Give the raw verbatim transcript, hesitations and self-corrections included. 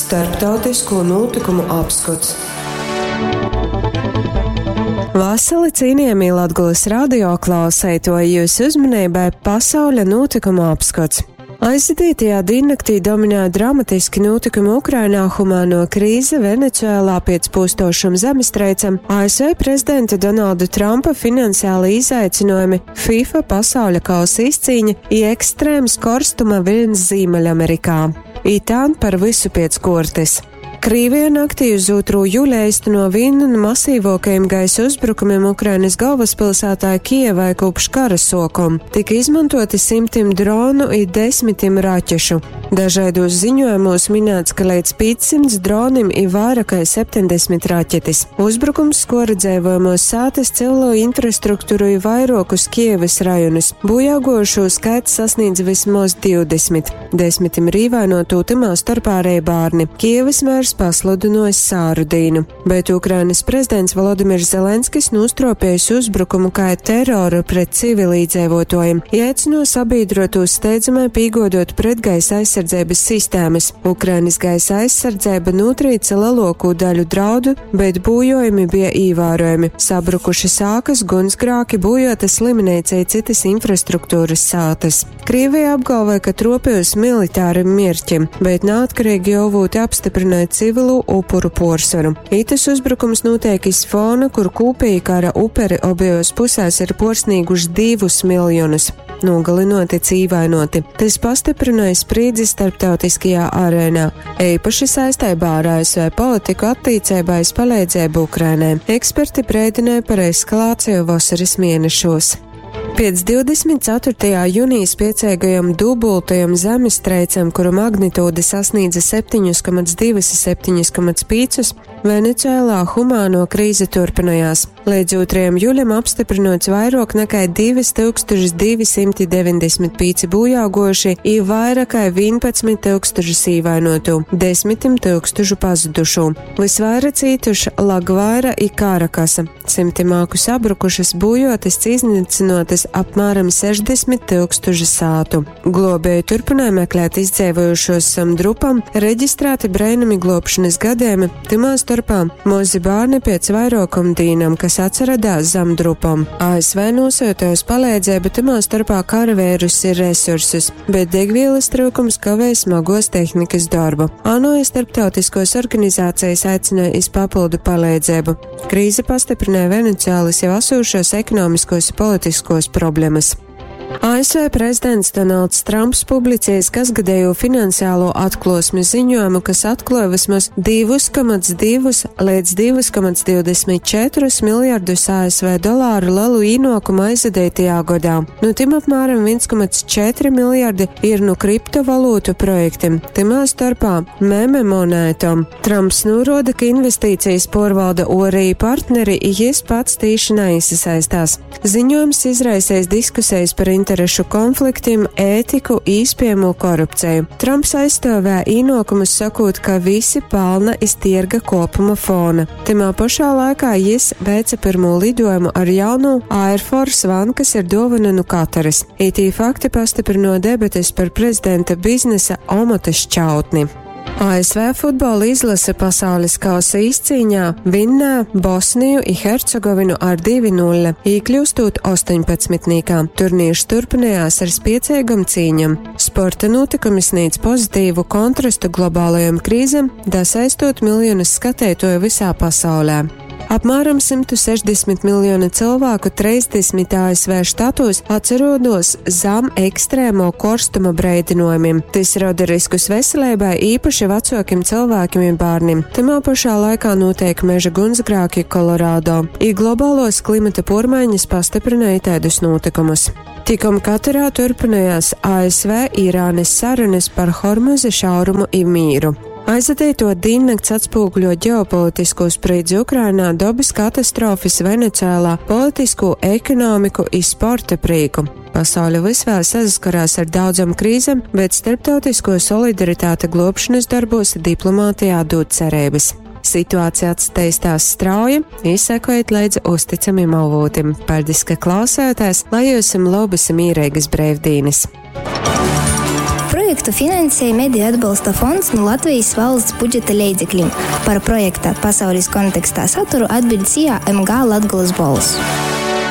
Starptautisko nūtykumu apskots. Vasali, cienījamie Latgulas radio klausētoji, jūsu uzmanībai pasauļa nūtykumu apskots. Aizvadītajā diennaktī dominēja dramatiski notikumi Ukrainā, humāno krīze Venecuēlā pēc pūstošam zemestreicam, A S V prezidenta Donalda Trumpa finansiāli izaicinājumi, FIFA pasauļa kausa izcīņa i ekstrēms korstuma viļņs Zīmeļamerikā. Itān par visu piec kuortys. Krīvija naktī uz otrū jūļa eisteno vīnu nu masīvākajiem gaisa uzbrukumiem Ukrainas galvaspilsētā Kijevai kopš kara sokuma. Tika izmantoti simtim dronu i desmitim raķešu. Dažaidos ziņojumos minēts, ka līdz piecsimt dronim i vairāk kai septeņdesmit raķetis. Uzbrukums skora dzeivojamos sātas, civilo infrastruktūru i vairuokus Kijevas rajonus. Bojāgojušo skaits sasniedz vismoz divdesmit. Desmitim ir īvainotū, tymā starpā arī bārni. Kijevas mērs pasludinojis sāru dīnu, bet Ukrainas prezidents Volodimirs Zelenskis nostropējis uzbrukumu kā teroru pret civilīdzēvotājiem, i aicino sabiedrotos steidzamai pīgodot pretgaisa aizsardzības sistēmas. Ukrainas gaisa aizsardzība notrīca lielāko daļu draudu, bet būjojumi bija īvērojami. Sabrukuši sākas, gunsgrāki, bojota slimnīca i citas infrastruktūras sātas. Krievija apgalvoja, ka tropējas militārim mierķim, bet neatkarīgi avūti apstiprināja civilu upuru porsvaru. Itas uzbrukums notiek iz fona, kur kūpīgi kara uperi obejos pusēs ir porsnīguši divus miljonus. Nogalinoti, cīvainoti. Tas pastiprināja spriedzi starptautiskajā arēnā, īpaši saistībā ar A S V politiku attīcībā iz palīdzību Ukrainai. Eksperti brēdināja par eskalāciju vasaras mēnešos. Pēc divdesmit ceturtajā jūnijā spiecīgajam dubultajam zemestreicam, kuru magnitūda sasniedza septiņus komats divus septiņus komats piecus, Venecuēlā humāno krīze turpinājās. Līdz otrajam jūlijam apstiprinots vairāk nekā divi tūkstoši divi simti deviņdesmit pieci bojāgojuši i vairāk kā vienpadsmit tūkstoši īvainotu, desmitim tūkstošu pazudušu. Visvairāk cītuši Lagvaira i Karakasa. Simtim āku sabrukušas, bujotas, iznīcinotas apmēram sešdesmit tūkstoši sātu. Globēji turpināja meklēt izdzēvojušos zem drupam, reģistrēti brēnumi globšanas gadījumi, tymā starpā mozi bārni pēc vairākam dīnam, kas atsaradās zem drupam. A S V nosūtījusi palīdzību, tymā starpā karavērus ir resursus, bet degvielas trūkums kavē smagos tehnikas darbu. ANO starptautiskos organizācijas aicināja iz papildu palīdzību. Krīze pastiprināja Venecuēlas jau esošos ekonomiskos un politiskos problēmas. A S V prezidents Donalds Trumps publicējis kasgadējo finansiālo atklosmi ziņojumu, kas atklāja vismaz divi komats divi līdz divi komats divdesmit četri miljardus A S V dolāru lielu īnokumu aizvadītajā gadā. Nu tim apmēram viens komats četri miljardi ir nu kriptovalūtu projektiem, timā starpā meme monētom. Trumps norāda, ka investīcijas porvalda orī partneri, i jis pats tīši neiesaistās. Ziņojums izraisījis diskusijas par interešu konfliktiem, ētiku, īspējamo korupciju. Trumps aizstāvēja īnokumus, sakot, ka visi pelna iz tirga kopuma fona. Timā pašā laikā jis veica pirmo lidojumu ar jaunu Air Force One, kas ir dāvana nu Kataras. Itī fakti pastiprino debates par prezidenta biznesa omota šķautni. A S V futbola izlase pasaules kausa izcīņā vinnē Bosniju i Hercegovinu ar divi nulle, īkļūstot astoņpadsmitnīkā. Turnīrs turpinājās ar spiecīgam cīņam. Sporta notikumi sniedz pozitīvu kontrastu globālajam krīzem, dasaistot miljonus skatētoju visā pasaulē. Apmēram simts sešdesmit miljoni cilvēku trīsdesmit A S V štatos atsarodos zem ekstrēmo korstuma breidinojumiem. Tas rada riskus veselībai, īpaši vecākiem cilvēkiem un bērniem. Tamā pašā laikā notiek meža gunsgrāki Kolorādo. I globālos klimata pormaiņas pastiprināja tādus notikumus. Tikom Katarā turpinājās A S V Irānas sarunas par Hormuza šaurumu i mīru. Aizvadīto diennakts atspoguļo ģeopolitisko spriedzi Ukrainā, dabas katastrofas Venecuēlā, politisko, ekonomiku i sporta prīku. Pasaule vis vēl saskarās ar daudzam krīzēm, bet starptautisko solidaritāte globšanas darbos diplomātijā dod cerības. Situācija attīstās strauji, izsekojiet līdzi uzticamiem avotiem. Paldies, ka klausāties, lai jums labas mierīgas brīvdienas! Projekta Projektu finansej Mediju atbalsta fonds nu Latvejis valsts budžeta leidzeklim. Par projekta Pasaulis kontekstā saturu atbiļd S I A M G Latgolys Bolss.